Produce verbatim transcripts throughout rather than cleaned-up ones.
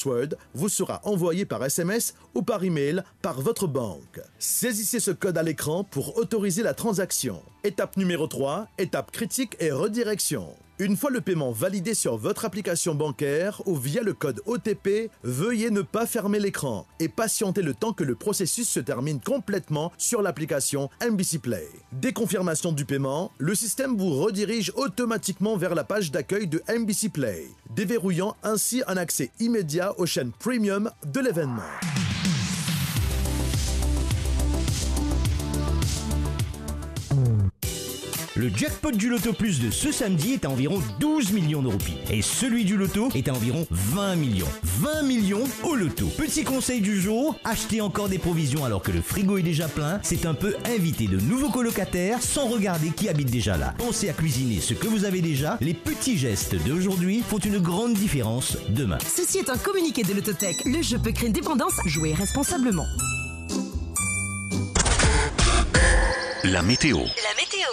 password vous sera envoyé par S M S ou par email par votre banque. Saisissez ce code à l'écran pour autoriser la transaction. Étape numéro trois, étape critique et redirection. Une fois le paiement validé sur votre application bancaire ou via le code O T P, veuillez ne pas fermer l'écran et patienter le temps que le processus se termine complètement sur l'application M B C Play. Dès confirmation du paiement, le système vous redirige automatiquement vers la page d'accueil de M B C Play, déverrouillant ainsi un accès immédiat aux chaînes premium de l'événement. Le jackpot du Loto Plus de ce samedi est à environ douze millions de roupies et celui du Loto est à environ vingt millions. Vingt millions au Loto. Petit conseil du jour, achetez encore des provisions alors que le frigo est déjà plein, c'est un peu inviter de nouveaux colocataires sans regarder qui habite déjà là. Pensez à cuisiner ce que vous avez déjà, les petits gestes d'aujourd'hui font une grande différence demain. Ceci est un communiqué de Lototech. Le jeu peut créer une dépendance. Jouez responsablement. La météo. La météo.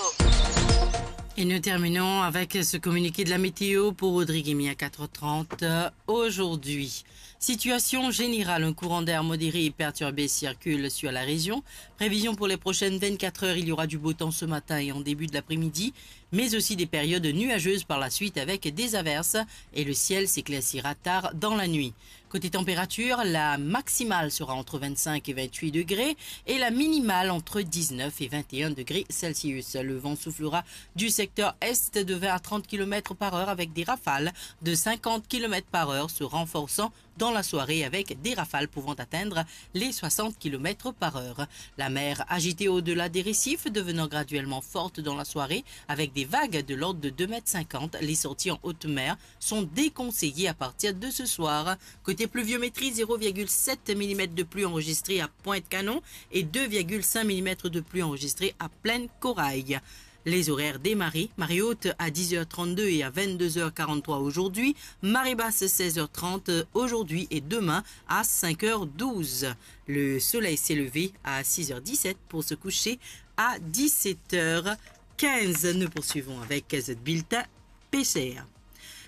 Et nous terminons avec ce communiqué de la météo pour Rodrigue et Mia, quatre heures trente, euh, aujourd'hui. Situation générale, un courant d'air modéré et perturbé circule sur la région. Prévision pour les prochaines vingt-quatre heures, il y aura du beau temps ce matin et en début de l'après-midi, mais aussi des périodes nuageuses par la suite avec des averses et le ciel s'éclaircira tard dans la nuit. Côté température, la maximale sera entre vingt-cinq et vingt-huit degrés et la minimale entre dix-neuf et vingt et un degrés Celsius. Le vent soufflera du secteur est de vingt à trente kilomètres par heure avec des rafales de cinquante kilomètres par heure se renforçant dans la soirée avec des rafales pouvant atteindre les soixante kilomètres par heure. La mer agitée au-delà des récifs, devenant graduellement forte dans la soirée avec des vagues de l'ordre de deux mètres cinquante. Les sorties en haute mer sont déconseillées à partir de ce soir. Côté pluviométrie, zéro virgule sept millimètres de pluie enregistrée à Pointe-Canon et deux virgule cinq millimètres de pluie enregistrée à Plaine-Corail. Les horaires des marées, marée haute à dix heures trente-deux et à vingt-deux heures quarante-trois aujourd'hui, marée basse seize heures trente aujourd'hui et demain à cinq heures douze. Le soleil s'est levé à six heures dix-sept pour se coucher à dix-sept heures quinze. Nous poursuivons avec ce bulletin pêcheur.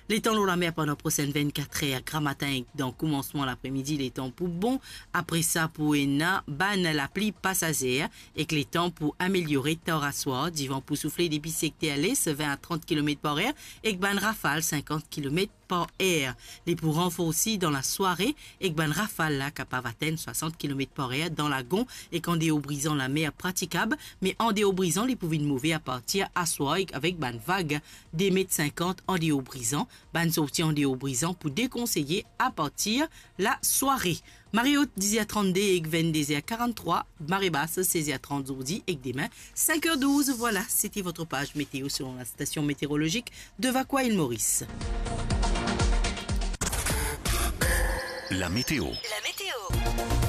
Letan lor lamer pandan prosenn vinnkatr er, gramatin ek dan koumansman lapremidi, letan pou bon. Apre sa, pou ena bann lapli pasazer ek letan pou ameliore tar aswar. Divan pou soufle depi sekter les, vin a trant kilomet par er, ek bann rafal sinkant kilomet par er. Li pou ranforsi dan lasware ek bann rafal la kapav atenn swasant kilomet par er dan Lagon ek andeor Brizan lamer pratikab, me andeor Brizan li pou vinn move apartir aswar ek avek bann vag de met sinkant andeor Brizan. Bann sorti andeor Brizan pou dekonseye apartir lasware. Mare ot, diz er trannde ek vennde er karann-trwa, mare bas, sez er trant zordi ek demin, sink er douz. Voilà, c'était votre page météo selon la station météorologique de Vacoas Île Maurice. La météo. La météo.